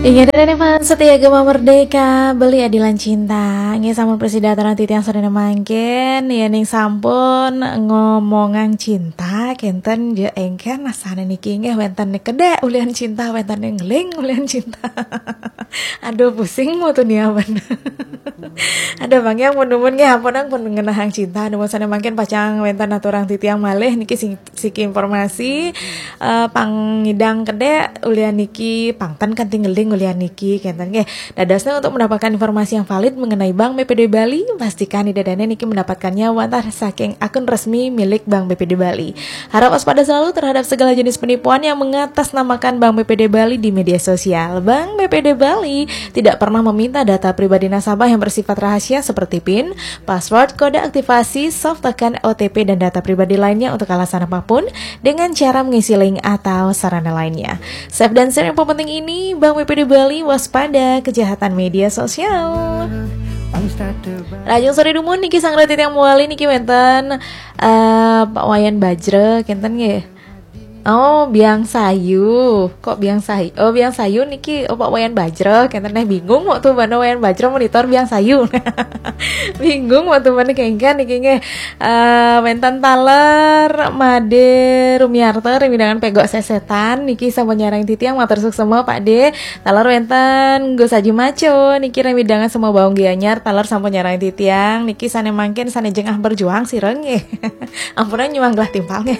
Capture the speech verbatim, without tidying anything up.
Inggih, dané fans setia Gema Merdeka, beli adilan cinta. Inggih, sampun prasida aturang titiang soréné mangkin, yéning sampun ngomongang cinta, kénten ja éngkén asané niki inggih wénten kedék ulian cinta, wénten ngeling ulian cinta. Aduh, pusing mau tuh niapan. Ada bang yang pun numun nggih, ampun ang pun ngenahang cinta. Numun sané mangkin pacang wénten aturang titiang malih niki sing siki informasi, eh, pang ngidang kedék ulian niki, pang ten kanti ngeling ulian niki, kénten nggih. Dadosnya, untuk mendapatkan informasi yang valid mengenai Bank B P D Bali, pastikan Ida dané niki mendapatkannya wantah saking akun resmi milik Bank B P D Bali. Harap waspada selalu terhadap segala jenis penipuan yang mengatasnamakan Bank B P D Bali di media sosial. Bank B P D Bali tidak pernah meminta data pribadi nasabah yang bersifat rahasia seperti pin, password, kode aktivasi, soft token, O T P, dan data pribadi lainnya untuk alasan apapun dengan cara mengisi link atau sarana lainnya. Safe dan sure yang penting ini, Bank B P D Bali, waspada kejahatan media sosial. Lajeng soré dumun niki sareng titiang malih niki wénten, eh, Pak Wayan Bajra, kénten nggih. Oh, Biang Sayu. Kok Biang Sayu? Oh, Biang Sayu niki, oh, Pak Wayan Bajra. Kénten néh bingung waktu mana Wayan Bajra monitor Biang Sayu. Bingung waktu mana kéngkén niki nggih. Eh, wénten taler Madé Rumiarto, ramidangan Pégok Sesetan niki sampun nyarengin titiang, matur suksma Pak Dé. Taler wénten Gus Aji Maco niki, ramidangan Sema Baung Gianyar, taler sampun nyarengin titiang niki, sané mangkin sané jengah berjuang sira nggih. Ampura nyuwang gelah timpal nggih.